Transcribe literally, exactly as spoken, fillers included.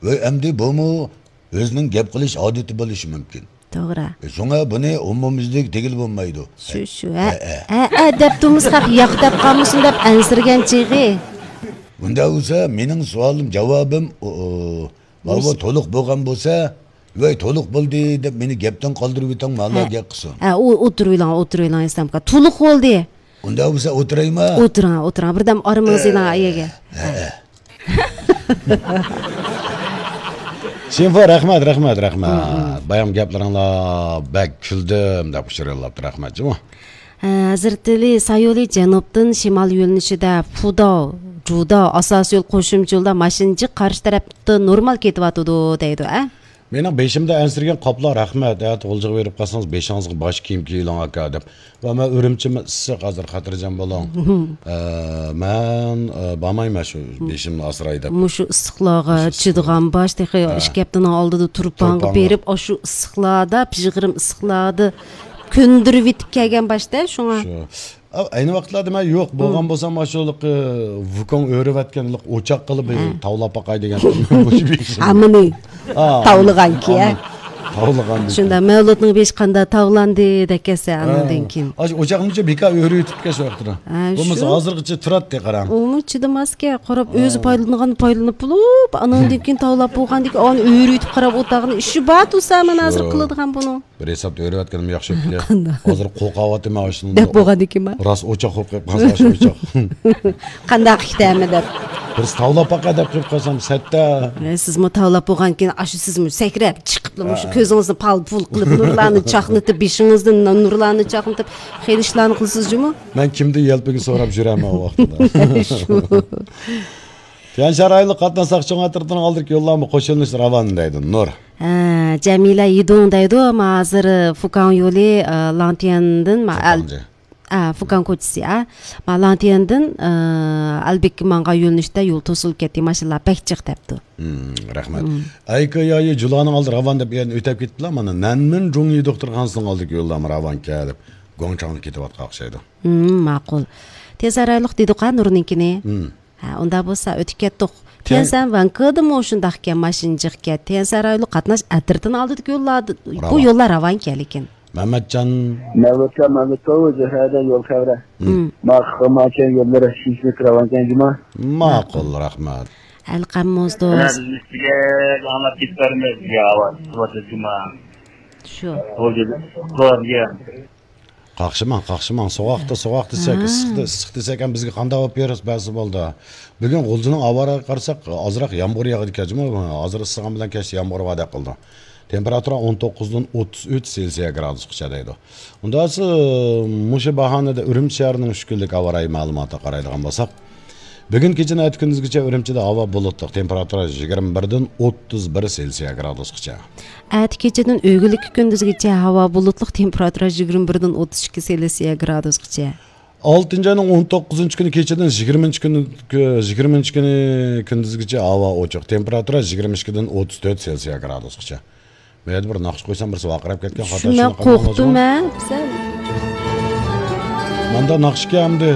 ۋەي، ئەمدى بۇمۇ ئۆزىنىڭ گەپ قىلىش ئادىتى بولۇشى مۇمكىن. توغرا. شۇڭا بۇنى ئومۇميۈزلۈك دېگىلى بولمايدۇ. شۇ، شۇ، ھە. ھە، ھە، ھە، دەپ تۇرمىسا خەق ياق دەپ قالمىسۇن دەپ ئەنسىرىگەن چېغى. ئۇنداق بولسا، مېنىڭ سوئالىم، جاۋابىم، ئۇ، ئۇ، ماۋۇ بولسا تولۇق بولغان بولسا، ۋەي، تولۇق بولدى دەپ مېنى گەپتىن قالدۇرۇۋېتىڭ، مالا ھە. گەپ قىلسۇن. ھە، ئۇ، ئولتۇرۇۋېلىڭ، ئولتۇرۇۋېلىڭ، ئىسلام ئاكا. تولۇق بولدى. ئۇنداق بولسا ئولتۇرايما؟ ئولتۇرۇڭ، ئولتۇرۇڭ. بىردەم ئارىمىڭىزنى ئېلىڭ، ئەيەگە. ھە، ھە. شىنفو، رەھمەت، رەھمەت، رەھمەت. بايام گەپلىرىڭلار بەك كۈلدۈم دەپ ئۇچۇر يوللاپتۇ، رەھمەت جۇمۇ. ھە، ھەزرىتى ئەلى سايولى جەنۇبتىن شىمال يۆنىلىشىدە فۇداۋ، جۇداۋ ئاساسىي يول قوشۇمچە يولدا ماشىنا جىق قارشى تەرەپتە نورمال كېتىۋاتىدۇ دەيدۇ، ئە؟ مېنىڭ بېشىمدا ئەنسىرىگەن قاپلار، رەھمەت. ھە، غۇلجىغا بېرىپ قالسىڭىز، بېشىڭىزغا باش كىيىم كىيىۋېلىڭ، ئاكا، دەپ. ۋە مەن ئۈرۈمچىمۇ ئىسسىق، ھازىر خاتىرجەم بولۇڭ. ئە، مەن، ئە، بارمايمەن شۇ بېشىمنى ئاسراي دەپ. مۇشۇ ئىسسىقلارغا مۇشۇ ئىسسىق. چىدىغان باش، تېخى ھە. ئىككى ھەپتىنىڭ ئالدىدا تۇرپانغا تۇرپانغا. بېرىپ، ئاشۇ ئىسسىقلاردا، پىژغىرىم ئىسسىقلاردا كۆندۈرۈۋېتىپ كەلگەن باش-دە، شۇڭا. شۇ. ئا، ئەينى ۋاقىتلاردا مەن يوق، بولغان بولسام، ئاشۇ ھېلىقى ۋۇكوڭ ئۆرۈۋەتكەن ھېلىقى ئوچاق قىلىپ ھە. تاۋلاپ باقاي دېگەن. ھامىنى ھا، تاۋلىغانكى، ھە؟ ھامىنى تاۋلىغان. شۇنداق، مەۋلۇتنىڭ بېشى قاندا تاۋلاندى دەكەتسە، ھە. ئانىڭدىن كېيىن. ئاشۇ ئوچاقنىچە بىكار ئۆرۈۋېتىپتىكەن شۇ ۋاقىتتا. ھە، بولمىسا شۇ. ھازىرغىچە تۇراتتى، قاراڭ. ئۇمۇ چىدىماسكەن، قاراپ، ئۆزى ھە. پايدىلىنىدىغان پايدىلىنىپ بولۇپ، ئانىڭدىن كېيىن تاۋلاپ بولغاندىن كېيىن، ئانى ئۆرۈۋېتىپ قاراپ ئولتۇرغىنى ئىشى بار تۇرسا، مانا ھازىر شۇ. قىلىدىغان بۇنىڭ. بىر ھېسابتا ئۆرۈۋەتكىنىم ياخشى بوپتۇ. قانداق؟ ھازىر قورقۇۋاتىمەن ئاشۇنى. دەپ بولغاندىكىنما؟ راست ئوچاق بولۇپ قېلىپ قالسا ئاشۇ ئوچاق. قانداق ئىكەنمۇ دەپ. بىرسى تاۋلاپ باقاي دەپ قېلىپ قالسام، سەتتە. ئە، سىزمۇ تاۋلاپ بولغاندىكىن ئاشۇ سىزمۇ سەكرەپ چىقىپلا مۇشۇ ھە. كۆزىڭىزنى پال-پۇل قىلىپ، نۇرلارنى چاقنىتىپ، بېشىڭىزدىن نۇرلارنى چاقنىتىپ، خېلى ئىشلارنى قىلىسىز جۇمۇ. مەن كىمدىن يەلپۈگە سوراپ يۈرەمەن ئۇ ۋاقتىدا. شۇ. تيەنشان رايونلۇق قاتناش ساقچى چوڭ ئەترىتىنىڭ ئالدىدىكى يوللارمۇ قوش يۆنىلىشتە راۋان دەيدۇ، نۇر. ھە، جەمىلە يىدۇڭ دەيدۇ، ما ھازىر، ئە، فۇكاڭ يولى، ئە، لاڭتيەندىن، ما، ئەل-، فۇكاڭجى. ئە، فۇكاڭ كوچىسى، ئە. ما لاڭتيەندىن، ئە، ئەلبېككە ماڭغان يۆنىلىشتە يول توسۇلۇپ كەتتى، ماشىنىلار بەك جىق دەپتۇ. ھىم، رەھمەت. ھىم. ئەيكېيايى جۇلانىڭ ئالدى راۋان دەپ يەنە ئۆتەپ كېتىپلا، مانا نەنمىن جۇڭيى دوختۇرخانىسىنىڭ ئالدىدىكى يوللارمۇ راۋانكەن دەپ، گۇاڭچاڭغا كېتىۋاتقان ئوخشايدۇ. ھىم، ماقۇل. تېز ئارايلىق دېدۇق-ھە نۇرنىڭكىنى. ھىم. ھە، ئۇنداق بولسا ئۆتۈپ كەتتۇق. تيەن- تيەنسەن ۋەنكېدىمۇ شۇنداقكەن، ماشىنا جىقكەن. تيەنسەن رايونلۇق قاتناش ئەترىتىنىڭ ئالدىدىكى يوللاردا، بۇ راۋان. يوللار راۋانكەن لېكىن. مەمەتجان. مەۋلۇتكە، مەۋلۇت، بۇ زۆھرەدە يول خەۋرە. ھىم. ما، ما كەن يوللىرى شۇنچىلىك راۋانكەن جۇما. ماقۇل، رەھمەت. ئەلقەم موزدوز. بىز ئۈستىگە ئاڭلاپ كېتىپ بەرمەيمىز، يا، ئاۋاز، جۇما. شۇ. بولدى، بولدى. قاقشىماڭ، قاقشىماڭ. سوغۇقتا سوغۇق دېسەك، ھا. ئىسسىقتا ئىسسىق دېسەك ھەم بىزگە قانداق بولۇپ بېرىسىز بەرسە بولدى. بۈگۈن غۇلجىنىڭ ئاۋارىغا قارىساق، ئازراق يامغۇر ياغىدىكەن جۇمۇ. ھازىر ئىسسىغان بىلەن كەچتە يامغۇر بار دەپ قىلىدۇ. تېمپېراتۇرا ئون توققۇزدىن ئوتتۇز ئۈچ سېلسىيە گرادۇسقىچە دەيدۇ. ئۇنداق بولسا، مۇشۇ باھانىدە ئۈرۈمچى شەھىرىنىڭ ئۈچ كۈنلۈك ھاۋا رايى مەلۇماتىغا قارايدىغان بولساق، بۈگۈن كېچىدىن ئەتە كۈندۈزگىچە ئۈرۈمچىدە ھاۋا بۇلۇتلۇق، تېمپېراتۇرا يىگىرمە بىردىن ئوتتۇز بىر سېلسىيە گرادۇسقىچە. ئەتە كېچىدىن ئۆگۈنلۈككە كۈندۈزگىچە ھاۋا بۇلۇتلۇق، تېمپېراتۇرا يىگىرمە بىردىن ئوتتۇز ئىككى سېلسىيە گرادۇسقىچە. ئالتىنچى ئاينىڭ ئون توققۇزىنچى كۈنى كېچىدىن يىگىرمىنچى كۈنى، يىگىرمىنچى كۈنى كۈندۈزگىچە ھاۋا ئوچۇق، تېمپېراتۇرا يىگىرمە ئىككىدىن ئوتتۇز تۆت سېلسىيە گرادۇسقىچە. مەيەردە بىر ناخشا قويسام، بىرسى ۋارقىراپ كەتكەن، خاتا شۇنداق شۇنداق قورقتۇم قىلماڭلار. مەن. ماندا ناخشىكەن ئەمدى.